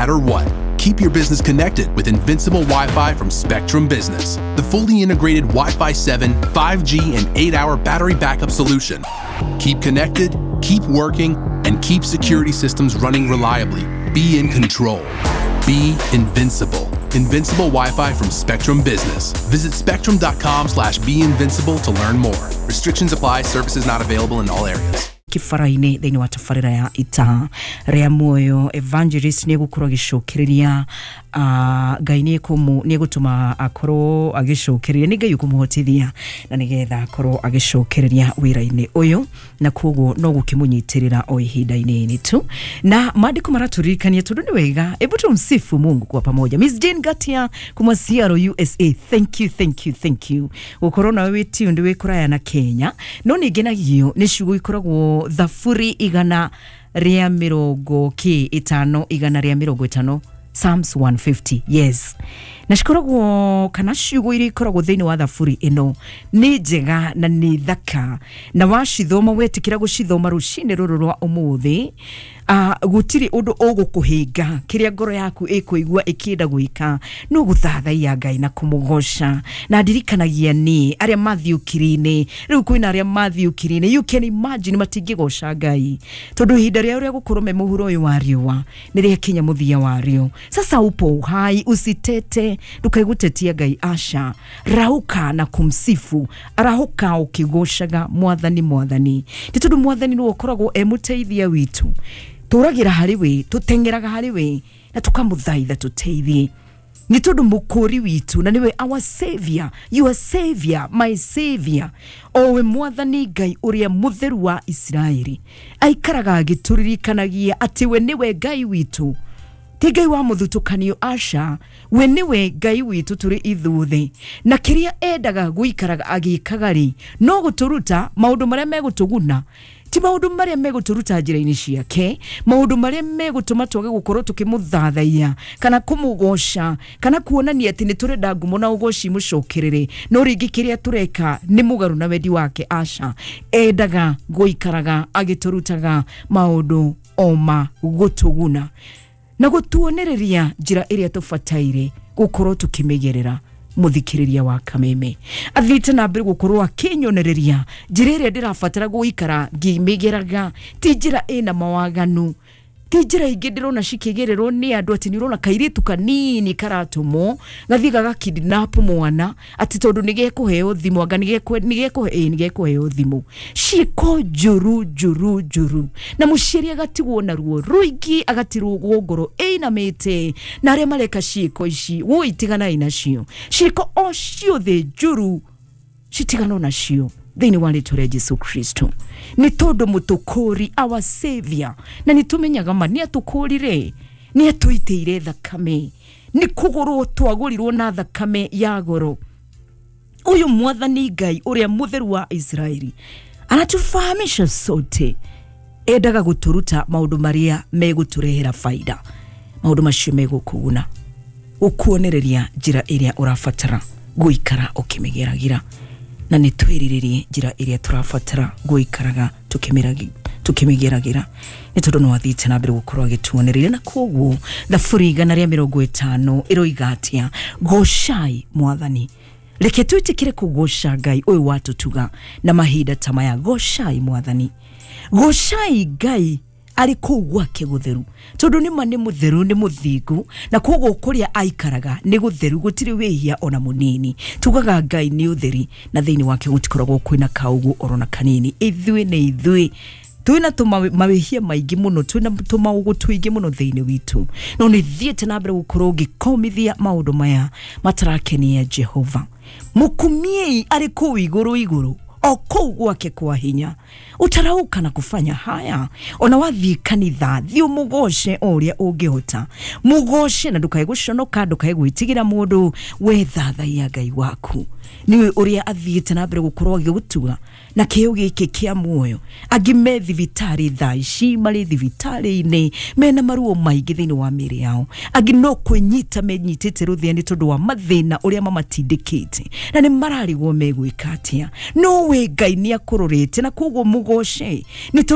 matter what. Keep your business connected with Invincible Wi-Fi from Spectrum Business, the fully integrated Wi-Fi 7, 5G, and 8-hour battery backup solution. Keep connected, keep working, and keep security systems running reliably. Be in control. Be invincible. Invincible Wi-Fi from Spectrum Business. Visit spectrum.com/beinvincible to learn more. Restrictions apply. Services not available in all areas. Kibara-inĩ thĩinĩ wa tabarĩra ya ita rĩa muoyo, evangelist nĩ egũkorwo agĩcokereria, Ngai nĩ egũtũma akorwo agĩcokereria, nĩ Ngai ũkũmũhotithia na nĩgetha akorwo agĩcokereria wĩra-inĩ ũyũ, na koguo no gũkĩmũnyitĩrĩra o ihinda-inĩ tu. Na maandĩko maratũririkania tondũ nĩ wega, hebu tumsifu Mungu kwa pamoja. Miss Jane Gatia kuma Seattle, USA, thank you, thank you, thank you. Gũkorwo nawe wĩ tuned wĩ kũraya na Kenya, no nĩ ngenagio nĩ ciugo ikoragwo Thaburi 150, 150, Psalms 150, yes. Na cikoragwo kana ciugo iria ikoragwo thĩinĩ wa thaburi ĩno nĩ njega na nĩ thaka, na wacithoma wetĩkĩra gũcithoma rũcinĩ rũrũ rwa ũmũthĩ, gũtirĩ ũndũ ũgũkũhĩnga. Kĩrĩa ngoro yaku ĩkũigua ĩkĩenda gwĩka no gũthathaiya Ngai na kũmũgoca. Na ndirikanagia niĩ arĩa mathiũkiri-inĩ, rĩu kwĩna arĩa mathiũkiri-inĩ, you can imagine matingĩgoca Ngai tondũ ihinda rĩao rĩa gũkorwo me mũhuro ũyũ wa riũa nĩ rĩakinya mũthia warĩo. Sasa upo uhai, usitete, ndũkaigũtetia Ngai, aca. Rauka na kumsifu, arahũka ũkĩgocaga Mwathani, Mwathani, nĩ tondũ Mwathani nĩwe ũkoragwo e mũteithia witũ. Tũragĩra harĩ we, tũteng'eraga harĩ we, na tũkamũthaitha tũteithie, nĩ tondũ mũkũri witũ na nĩwe our savior, your savior, my savior, owe Mwathani Ngai ũrĩa mũtheru wa Isiraeli, aikaraga agĩtũririkanagia atĩ we nĩwe Ngai witũ, ti Ngai wa mũthutũkanio, aca. We nĩwe Ngai witũ tũrĩ ithuothe, na kĩrĩa endaga gũikaraga agĩkaga rĩ, no gũtũruta maũndũ marĩa megũtũguna, ti maũndũ marĩa megũtũruta njĩra-inĩ ciake, maũndũ marĩa megũtũma twage gũkorwo tũkĩmũthathaiya kana kũmũgoca kana kuonania atĩ nĩ tũrenda ngumo na ũgoci mũcokerere, no rĩngĩ kĩrĩa tũreka nĩ mũgarũ na wendi wake, aca. Endaga gũikaraga agĩtũrutaga maũndũ o ma gũtũguna na gũtuonereria njĩra ĩrĩa tũbataire gũkorwo tũkĩmĩgerera. Mũthikĩrĩria wa Kameme athiĩte na mbere gũkorwo akĩnyonereria njĩra ĩrĩa ndĩrabatara gũikara ngĩmĩgeraga, ti njĩra ĩna mawaganu, ti njĩra ingĩ ndĩrona cikĩgererwo nĩ andũ atĩ nĩ ũrona kairĩtu kanini karatũmwo gathiĩ gagakidnap mwana atĩ tondũ nĩ gekũheo thimũ, anga nĩ gekũheo thimũ. Ciĩko njũru njũru njũru, na mũciari agatigwo na ruo rũingĩ, agatirwo ngoro ĩinamĩte, na arĩa mareka ciĩko ici woi tiganai nacio. Ciĩko o ciothe njũru citiganwo nacio thĩinĩ wa rĩtwa rĩa Jesu Kristo, nĩ tondũ mũtũkũri, our savior, na nĩ tũmenyaga ma nĩ atũkũrire, nĩ atũitĩire thakame, nĩ kũgũrwo twagũrirwo na thakame ya goro. Ũyũ Mwathani Ngai ũrĩa mũtheru wa Isiraeli anatufahamisha sote, endaga gũtũruta maũndũ marĩa megũtũrehera faida, maũndũ macio megũkũguna, gũkuonereria njĩra ĩrĩa ũrabatara gũikara ũkĩmĩgeragĩra, na nĩ twĩrirĩrie njĩra ĩrĩa tũrabatara gũikaraga tũkĩmĩgeragĩra, nĩ tondũ no athiĩte na mbere gũkorwo agĩtuonereria. Na koguo Thaburi 150 ĩroiga atĩa? Gocai Mwathani. Reke twĩtĩkĩre kũgoca Ngai ũyũ watũtuga na mahinda ta maya. Gocai Mwathani, gocai Ngai arĩ kũu gwake gũtheru, tondũ nĩma nĩ mũtheru, nĩ mũthingu, na koguo kũrĩa aikaraga nĩ gũtheru, gũtirĩ wĩhia ona mũnini. Tugaga Ngai nĩ ũtheri, na thĩinĩ wake gũtikoragwo kwĩna kaũgũ orona kanini. Ithuĩ nĩ ithuĩ twĩna mawĩhia maingĩ mũno, twĩna tũmaũgũ tũingĩ mũno thĩinĩ witũ, no nĩ thiĩte na mbere gũkorwo ngĩkomithia maũndũ maya matarakenia Jehova. Mũkumiei arĩ kũu igũrũ igũrũ, o kũu gwake kwa hinya. Utarauka na kufanya haya. Ona wathiĩ kanitha, thiĩ ũmũgoce o ũrĩa ũngĩhota, mũgoce na ndũkae gũconoka, ndũkae gwĩtigĩra mũndũ. We thathaiya Ngai waku, nĩwe ũrĩa athiĩte na mbere gũkorwo agĩgũtuga na kĩo gĩkĩ kĩa muoyo. Angĩ me thibitarĩ thaa ici, marĩ thibitarĩ-inĩ mena maruo maingĩ thĩinĩ wa mĩĩrĩ yao, angĩ no kwĩnyita menyitĩte rũthĩa nĩ tondũ wa mathĩna ũrĩa mamatindĩkĩte, na nĩ mararigwo megwĩka atĩa. No we Ngai nĩ akũrorete, na koguo mũgoce nĩ tondũ